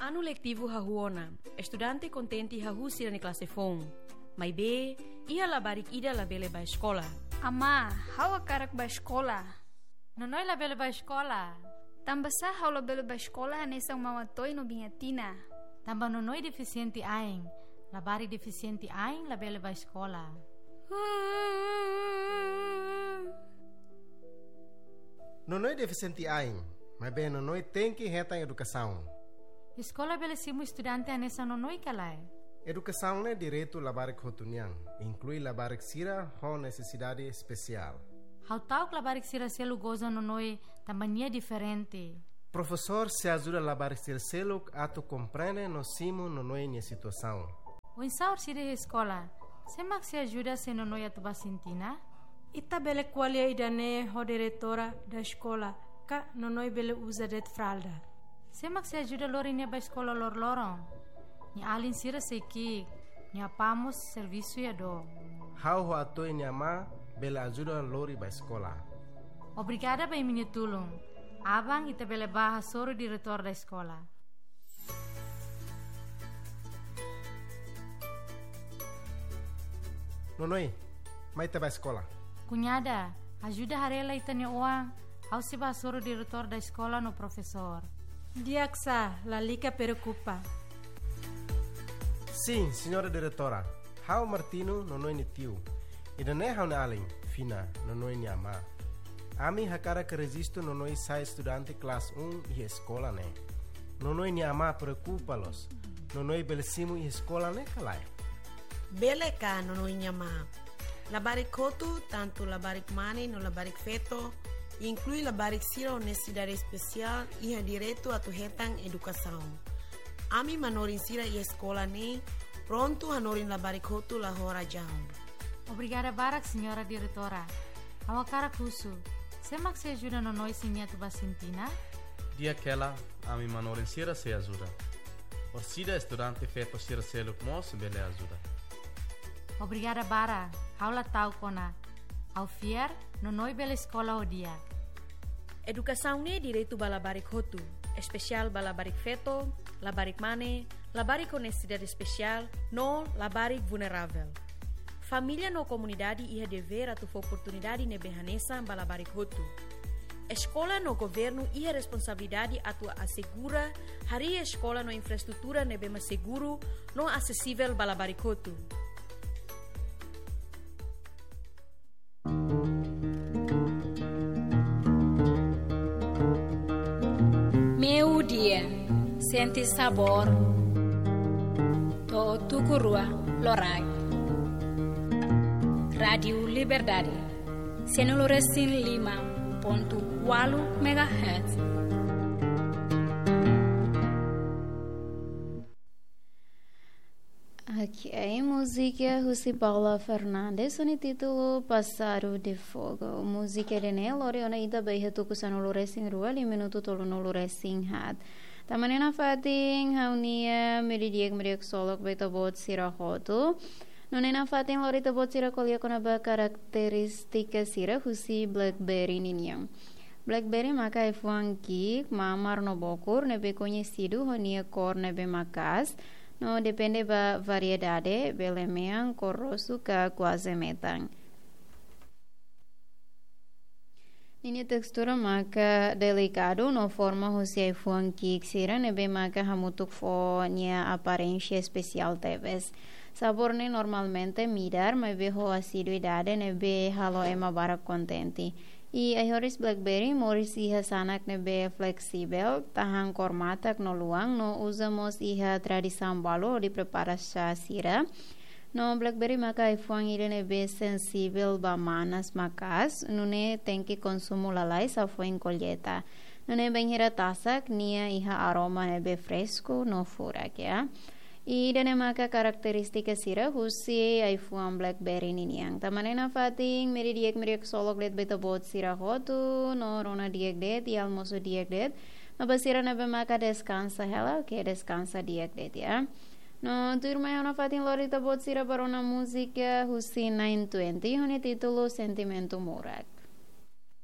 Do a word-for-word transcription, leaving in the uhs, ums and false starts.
Anu letivu hahú ona, estudante kontente hahú sira-nia klase foun. Maibé, iha labarik ida labele bá eskola. Amá, ha'u hakarak bá eskola. Nonoe labele bá eskola. Tanbasá ha'u labele bá eskola hanesan Maun Atoy no Biin Atina? Tanba Nonoe defisiente ain. Labarik defisiente ain labele bá eskola. Nonoe defisiente ain, maibé Nonoe tenke hetan edukasaun. Eskola bele simu estudante hanesan Nonoe ka lae? Edukasaun ne'e direitu labarik hotu nian, inklui labarik sira ho nesesidade espesiál. Ha'u ta'uk labarik sira seluk goza Nonoe tanba nia diferente. Profesór sei ajuda labarik sira seluk atu komprende no simu Nonoe nia situasaun. Oinsá orsida iha eskola? Sé mak sei ajuda se Nonoe atu bá sentina? Ita bele ko'alia ida-ne'e ho diretora da eskola, ka Nonoe bele uza de'it fralda. Sé mak sei ajuda lori nia bá eskola loroloron? Nia alin sira sei ki'ik, nia apá mós servisu iha dook. Ha'u ho Atoy nia amá bele ajuda lori bá eskola. Obrigada ba imi-nia tulun. Aban ita bele bá hasoru diretór da eskola. Nonoe, mai ita bá eskola. Kuñada, ajuda haree lai ita-nia oan, ha'u sei bá hasoru diretór da eskola no profesór. Di'ak sá, lalika preokupa. Sin, señora diretora. Ha'u Martino, Nonoe nia tiu. Ida-ne'e ha'u-nia alin, Fina, Nonoe nia amá. Ami hakarak rejistu Nonoe sai estudante klase um iha eskola ne'e. Nonoe nia amá preokupa loos. Nonoe bele simu iha eskola ne'e ka lae? Bele ka, Nonoe nia amá. Labarik hotu, tantu labarik mane no labarik feto, inklui labarik sira ho nesesidade espesiál, iha direitu atu hetan edukasaun. Ami manorin sira iha eskola ne'e prontu hanorin labarik hotu la ho razaun. Obrigada barak, señora diretora. Ha'u hakarak husu, sé mak sei ajuda Nonoe se nia atu bá sentina? Di'ak hela, ami manorin sira sei ajuda. Orsida estudante feto sira seluk mós bele ajuda. Obrigada barak, ha'u la ta'uk ona. Ha'u fiar, Nonoe bele eskola ho di'ak. Edukasaun ne'e direitu ba labarik hotu, espesiál ba labarik feto, labarik mane, labarik ho nesesidade espesiál, no labarik vulneravel. Família no komunidade iha devér atu fó oportunidade ne'ebé hanesan ba labarik hotu. Eskola no governu iha responsabilidade atu asegura harii eskola no infraestrutura ne'ebé mak seguru no asesivel ba labarik hotu. Meiudia, sente sabór to'o tuku rua loraik. Rádiu Liberdade, sanulu resin lima pontu ualu megahertz. Ok, múzika husi Paula Fernandes, ho nia títulu Passado de Fogo. Múzika ida-ne'e lori ona ita ba iha tuku sanulu resin rua, liu minutu tolunulu resin haat. Tanba ne'e nafatin ha'u-nia meiudia di'ak, meiudia ksolok ba ita-boot sira hotu. No ne'e nafatin lori ita-boot sira ko'alia kona-ba karakterístika sira husi BlackBerry ninian. BlackBerry maka ai-fuan ki'ik, mamar no bokur, ne'ebé koñesidu ho nia kór ne'ebé maka'as, no depende ba variedade, bele mean, kór rosu ka kuaze metan. Ninia testura maka delikadu no forma husi ai-fuan ki'ik sira ne'ebé maka hamutuk fó nia aparénsia espesiál tebes. Sabór ne'e normalmente midar, maibé ho asiduidade ne'ebé halo ema barak kontente. I ai-horis BlackBerry moris iha sanak ne'ebé fleksível, tahan kór matak no luan, no uza mós iha tradisaun balu hodi prepara xá sira. No BlackBerry maka ai-fuan ida ne'ebé sensível ba manas maka'as, nune'e tenke konsumu lalais hafoin kolleita. Nune'e bainhira tasak, nia iha aroma ne'ebé fresku no furak, ya. Ida-ne'e maka karakterístika sira husi ai-fuan BlackBerry ninian. Tanba ne'e nafatin, meiudia di'ak, meiudia ksolok de'it ba ita-boot sira hotu, no rona di'ak de'it, i almosu di'ak de'it. No ba sira ne'ebé maka deskansa hela, oke, deskansa di'ak de'it, ya. No tuirmai ha'u nafatin lori ita-boot sira ba rona múzika husi Nine Twenty, ho nia títulu Sentimentu Morak.